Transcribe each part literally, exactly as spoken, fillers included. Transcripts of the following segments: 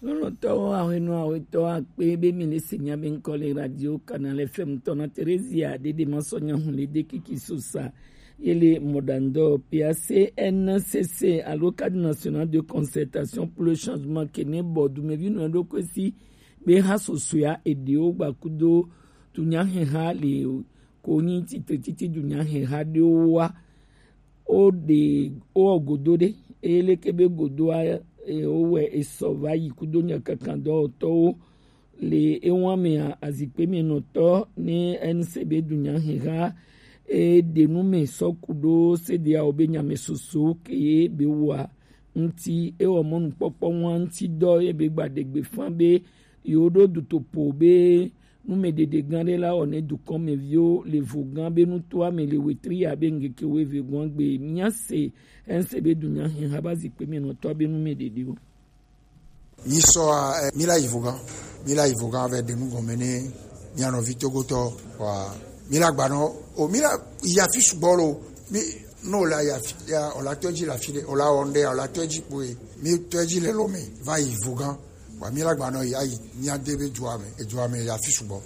Lɔlɔ̃tɔwo, ahwenɔ, ahwetɔ akpe be mi le se nya be ŋkɔ le radio Canal F M tɔ na Theresia Dede Masɔnya Hunlede Kiki Sosa ye le Modando Pia C N C C alo Cadre National de Concertation pour le Changement ke ne bɔ dumevi nɔ ɖo kwesi be ha sosoya eɖewo gba kudo dunyaheha le ko nyi titrititi dunyaheha ɖewo wa. Wo ɖe wo godo ɖe, eye leke be godoa, e, wo wɛ esɔ va yi kudo nyakakandɔwɔtɔwo le ewa mea, azikpe me nɔtɔ ne N C B dunyaheha e ɖe nu me sɔ ku ɖo sedeawo be nyame soso ke ye be wa ŋuti ewɔ mɔnukpɔkpɔ ŋua ŋuti dɔ ye be gba ɖe gbe fã be yewo ɖo dutoƒo be numedede gã ɖe la wɔ ne dukɔmeviwo le vo gã be nutoa me le wetri ya be ŋkeke wuieve gɔ̃a gbe. Mía se N C B dunyaheha ba zikpe me nɔtɔ be numedede wo. Nyisɔa, eh, mi la yi vo gã, mi la yi vo gã vɛ ɖe nu gɔme ne mía nɔvi togotɔ wa mi la gbanɔ o mi la yi afi sugbɔ lo mi no la yi afi ya o la tɔ dzi le afi ɖe o la wɔ ŋɖe o la tɔ dzi kpoe mi tɔ dzi le lo me va yi vo gã. Wa mi la gbanɔ ya yi mía de be dua me edua me ya fi sugbɔ.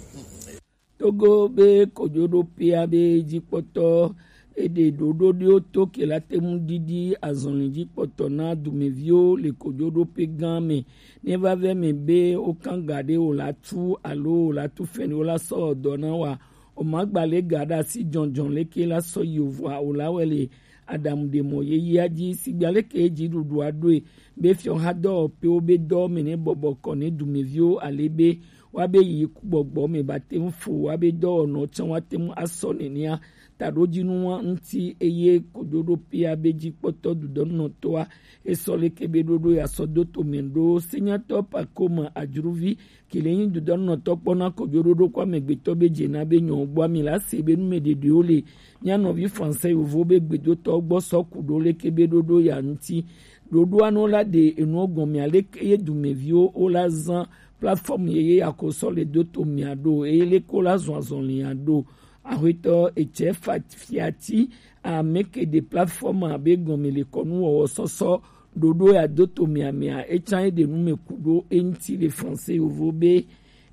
Togo be kojoɖoƒea be dzikpɔtɔ eɖe ɖoɖo ɖewo to ke la te ŋu ɖiɖi azɔli dzikpɔtɔ na dumeviwo le kojoɖoƒe gã me ne va vɛ me be wokan ga ɖe wòla tu alo wòla tu fɛn ɖe wola sɔ dɔ na wa o ma gba le ga ɖe asi jɔnjɔn leke la sɔ yi o vɔa o la wɛ le aɖaŋuɖemɔ yeyea dzi. Sigba leke dziɖuɖua ɖoe be fiɔhadɔwɔƒewo be dɔwo me ne bɔbɔ kɔ ne dumeviwo ale be woabe yi gbɔgbɔ me ba te ŋu fo woabe dɔwɔnɔ tsã woate ŋu asɔ nenea taɖodzinu wa ŋuti eye kojoɖoƒea be dzikpɔtɔ dudɔnɔtɔa esɔ leke be ɖoɖo ya sɔ do to me ɖo senyatɔ pakoma adzruvi Kele nyi dudɔnɔtɔ kpɔ na kojoɖoɖo kɔ amegbetɔ be dze na be nyɔ gbɔ ami la se be numeɖeɖewo le mía nɔvi français yovo be gbedotɔ gbɔ sɔ ku ɖo leke be ɖoɖo ya ŋuti. Ɖoɖoa no la ɖe enuɔ gɔmea leke ye dumeviwo wo la zan plateforme ye ye ya ko sɔ le do to mia ɖo eye leke wo la zɔn azɔlia ɖo. Axwetɔ etsɛ fa fiati ame ke ɖe plateforme abe gɔme le kɔnu wɔwɔ sɔsɔ ɖoɖo ya do to mia mea etsa ye ɖe nu me ku ɖo eŋti le français yovo be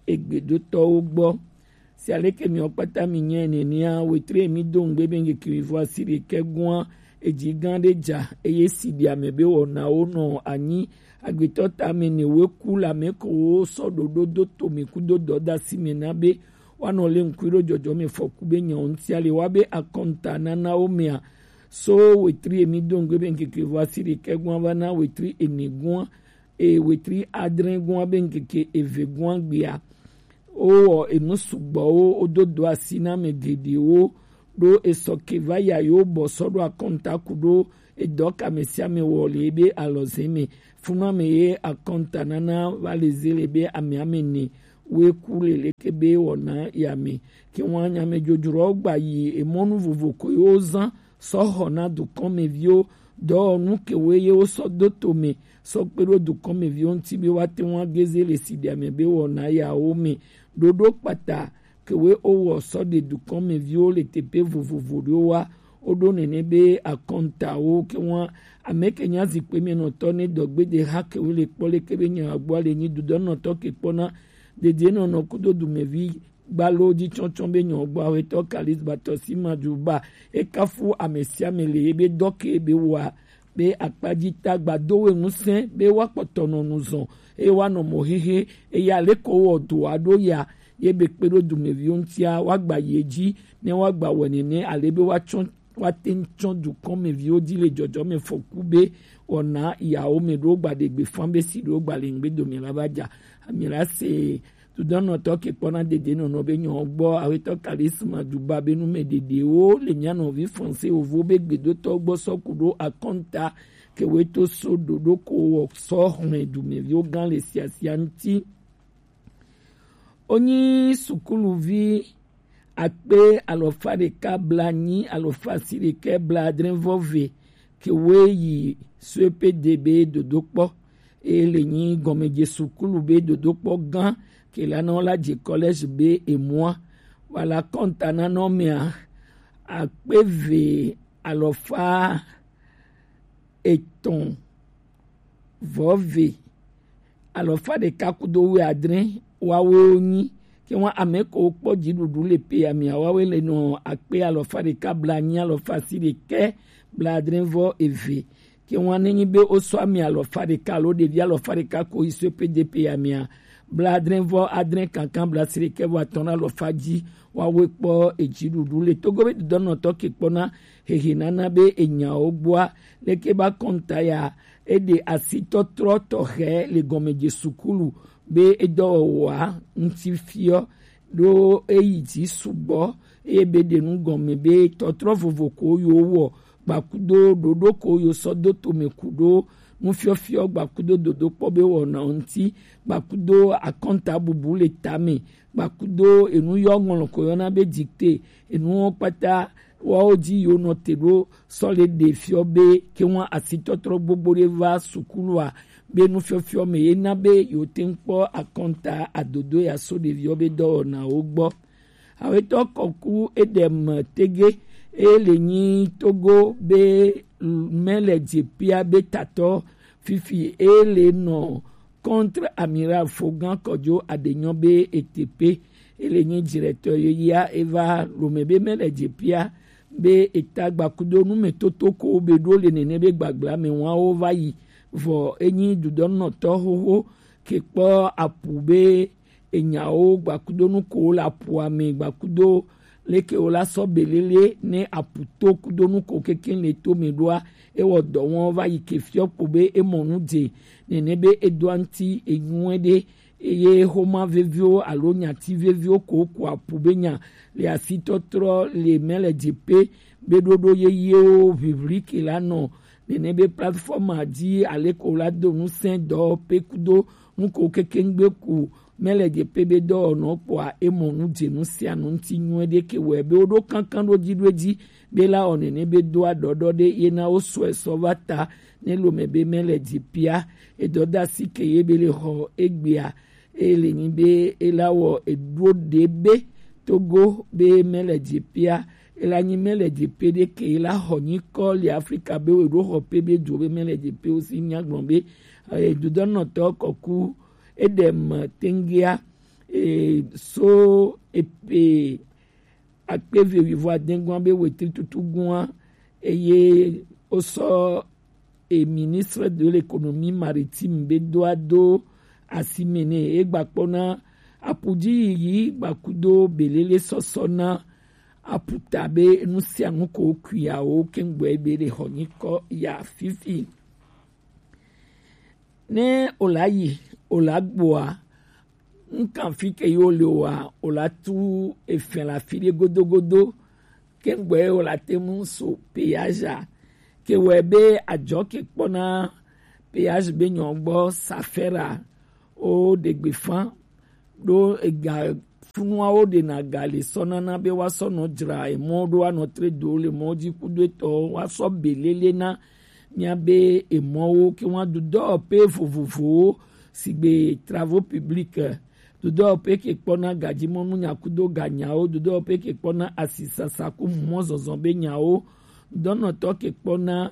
egbedotɔwo gbɔ. Si aleke miwo kpata mi nyɛ nenea, wetre mi do ŋgbe be ŋkeke wivo asi ɖekɛ gɔa edzi gã ɖe dza eye si ɖi ame be wɔnawo nɔ anyi agbetɔ ta me ne we ku le ame ko wo sɔ ɖoɖo do to me ku do dɔdasi me na be woanɔ le ŋkui ɖo dzɔdzɔme fɔku be nyawo ŋutia le wa be akɔnta nanawo mea. So wetri emi do ŋgbe be ŋkeke vɔ asi ɖekɛ gɔa va na wetri ene gɔa eye wetri adre gɔa be ŋkeke eve gɔa gbea wowɔ enu sugbɔwo wodo do asi na ame geɖewo ɖo esɔ ke va ya yewo bɔ sɔ ɖo akɔnta ku ɖo edɔ ka ame sia ame wɔ le ebe alɔze me. Funu ame ye akɔnta nana va le ze le be ame ame ne woe ku le leke be wɔna ya me. Ke wɔn nya ame dzodzroawo gba yi emɔnu vovo ko yewo zã sɔ xɔ na dukɔmeviwo dɔwɔnu ke wo ye wo sɔ do to me sɔ kpe ɖo dukɔmeviwo ŋuti be woate ŋu ageze le siɖea me be wɔna yawo me. Ɖoɖo kpata ke wo wowɔ sɔ ɖe dukɔmeviwo le teƒe vovovo ɖewo wa. Woɖo nene be akɔntawo ke ŋua ame ke nya zikpui me nɔtɔ ne dɔgbede ha ke wo le kpɔ leke be nya gbɔ le nyi dudɔnɔtɔ ke kpɔna dedienɔnɔ kudo dumevi gbalo dzi tsɔtsɔ be nyɔ gbɔ awetɔ kalis batɔ si ma dzu ba ekafu ame sia ame le ebe dɔ ke be wa be akpadzi ta gbado we ŋusẽ be woakpɔtɔ nɔ nu zɔn eye woanɔ mɔ hehe eye aleko wɔ do aɖo ya ye be kpe ɖo dumeviwo ŋutia woagba yi edzi ne woagba wɔ nene ale be woatsɔ woate ŋu tsɔ dukɔmeviwo dzi le dzɔdzɔme fɔku be wɔna yawo me ɖo gba ɖe gbe fã be si ɖo gba le ŋgbe dome la va dza ami la se Dudɔnɔtɔ ke kpɔna dedienɔnɔ be nyɔ gbɔ awetɔ kalisma duba be nume ɖeɖewo le mía nɔvi français wovo be gbedotɔ gbɔ sɔ ku ɖo akɔnta ke wo to so ɖoɖo ko wɔ sɔ xlẽ dumeviwo gã le siasia ŋuti. Wonyi sukuluvi akpe alɔfa ɖeka blanyi alɔfa si ɖekɛ bladre vɔ ve ke woe yi suepede be dodokpɔ eye le nyi gɔmedze sukulu be dodokpɔ gã ke la na wo la dze kɔlɛzi be emua wala kɔnta na nɔ mea akpe ve alɔfa etɔn vɔ ve alɔfa ɖeka kudo wuiadre wawe wonyi. Ke ŋwa ame ko kpɔ dziɖuɖu le peyamia wawe le nɔ akpe alɔfa ɖeka blanyi alɔfa si ɖekɛ bladre vɔ eve. Ke ŋwa nenyi be wosɔ ami alɔfa ɖeka alo ɖevi alɔfa ɖeka ko yi so epe de peyamia bladre vɔ adre kankan blasi ɖekɛ vɔ atɔn alɔfa dzi wawe kpɔ edziɖuɖu le. Togo be dodɔnɔtɔ ke kpɔna hehe nana be enyawo gbɔa leke ba kɔnta ya eɖe asitɔtrɔ tɔxɛ le gɔmedze sukulu be edɔwɔwɔa ŋuti fiɔ ɖo eyi dzi sugbɔ eye be ɖe nu gɔme be tɔtrɔ vovo ko yo wɔ gbakudo ɖoɖo ko yo sɔ do tome ku ɖo nufiɔfiɔ gbakudo dodokpɔ be wɔna ŋuti gbakudo akɔnta bubu le tame gbakudo enu yɔ ŋlɔ ko yɔna be dikte enu kpata wawo dzi yo nɔ te ɖo sɔ le ɖe fiɔ be ke ŋwa asitɔtrɔ gbogbo ɖe va sukulua be nufiɔfiɔ me ye na be yo te ŋ kpɔ akɔnta adodo ya so ɖeviɔ be dɔwɔnawo gbɔ. Awetɔ kɔku eɖem tege eye le nyi Togo be mɛ le dze pia be tatɔ fifi eye le nɔ contre amiral Fogan Kɔdzo Adenyɔ be etepe ele nyi directeur yeyea eva lome be mɛ le dze pia be eta gbakudo numetoto ko be ɖo le nene be gbagbla me wawo va yi vɔ enyi dudɔnɔtɔ xoxo ke kpɔ apu be enyawo gbakudo nu ko le apua me gbakudo leke wo la sɔ belele ne apu to kudo nu ko keke le to me ɖoa ewɔ dɔ wɔn va yi ke fiɔ kpo be emɔ nu dze nene be edoa ŋuti enyuɛ ɖe eye xoma veviwo alo nyati veviwo ko ko apu be nya le asitɔtrɔ le mɛ le dze pe be ɖoɖo yeyewo ʋiʋli ke la nɔ nene be plateforme dzi ale ko la do ŋusẽ dɔ pe kudo nu ko keke ŋgbe ku mɛ le dze pe be dɔwɔnɔ kpɔa emɔ nu dze nu sia nu ŋuti nyuie ɖe ke wɔe be woɖo kankan ɖo dzi ɖo edzi be la wɔ nene be doa ɖɔɖɔ ɖe ye na wo sɔe sɔ va ta ne lome be mɛ le dzi pia edɔdasi ke ye be le xɔ egbea eye le nyi be ela wɔ eɖo ɖe be Togo be mɛ le dzi pia ela nyi mɛ le dzi pe ɖe ke ela xɔ nyikɔ le Afrika be wo ɖo xɔ pe be dzo be mɛ le dzi pe wo si nya gblɔ be dodɔnɔtɔ kɔku eɖe me tengea so epe akpe eve wuivo adegua be wetri tutu gua eye wosɔ e ministre de l'économie maritime be doa do asime ne e gbakpɔna apuji yiyi gbakudo belele sɔsɔ na aputa be nu sia nu ko kuiawo kengbe be le xɔ nyikɔ ya fifi. Ne o la yi o la gbɔa ŋkan fi ke yo le wa o la tu efɛn la fi ɖe godogodo kengbe o la te mu so peyazha ke wɛ be adzɔ ke kpɔna peyazha be nyɔ gbɔ safɛra o ɖegbe fan ɖo ega funuawo ɖena ga le sɔ nana be woasɔ nɔ dzra emɔ ɖo anɔ tre do le mɔ dzi kudo etɔ woasɔ belele na míabe emɔwo ke woadu dɔwɔƒe vovovowo sigbe travaux publics, dodɔwɔƒe ke kpɔna gadzimɔnu nyakudo ganyawo, dodɔwɔƒe ke kpɔna asisasa ku mɔzɔzɔ be nyawo, dɔnɔtɔ ke kpɔna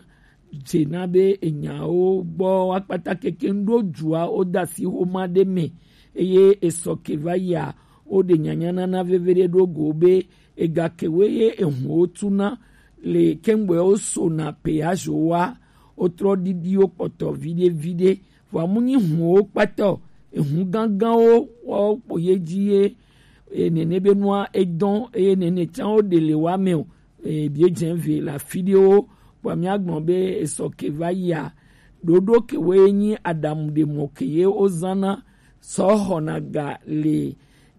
dzena be enyawo gbɔ woakpata keke ŋɖo dua wode asi xoma ɖe me eye esɔ ke va yia woɖe nyanyanana veve ɖe ɖo go be egakewoe ye ehunwo tuna le kengbewo sona peyazo wa wotrɔ ɖiɖiwo kpɔtɔ viɖe viɖe vɔ amu nyi hunwo kpatɔ ehun gãgãwo woawo kpo ye dzi ye nene be nua edɔn eye nene tsã woɖe le wa me o. Biedzẽ ve le afi ɖewo kpɔa míagblɔ be esɔ ke va yia ɖoɖo kewoe nyi aɖaŋuɖemɔ ke ye wozãna sɔ xɔna ga le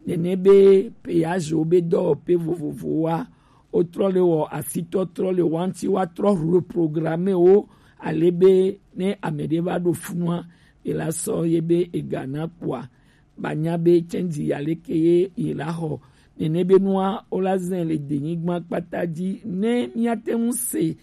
nene be peyazo be dɔwɔƒe vovovowoa wotrɔ le wɔ asitɔtrɔ le wa ŋuti woatrɔ reprogramme wo ale be ne ame ɖe va ɖo funua ela sɔ ye be ega na kpɔa banya be tsɛnji ya leke ye yi la xɔ nene be nua wo la zɛ le denyigba kpata dzi ne míate ŋu se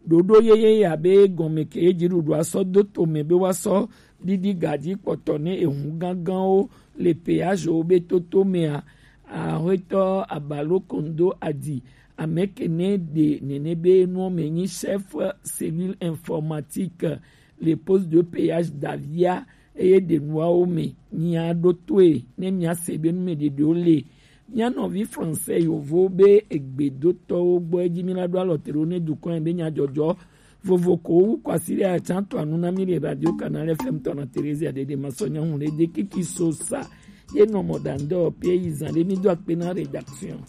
ɖoɖo yeye ya be gɔme ke ye dziɖuɖua sɔ do tome be woasɔ ɖiɖi gadzi kpɔtɔ ne ehu gãgãwo le peyazo be toto mea. Axwetɔ Abalo Kondo Adi ame ke ne ɖe nene be nuɔ me nyi chef cellule informatique le poste de péage d'Avia eye ɖenuawo me míaɖo toe ne míase be nu me ɖeɖewo le. Mía nɔvi français yovo be egbedotɔwo gbɔ edzi míla ɖo alɔ te ɖo ne dukɔ be nyadzɔdzɔ vovo ko wu kwasi ɖe atsa to anu na mi le radio canal F M tɔ na Theresia Dede Masɔnya ŋu le de kiki so sa ye nɔ mɔ ɖandɔ pe yi zan ɖe mi do akpe na rédaction.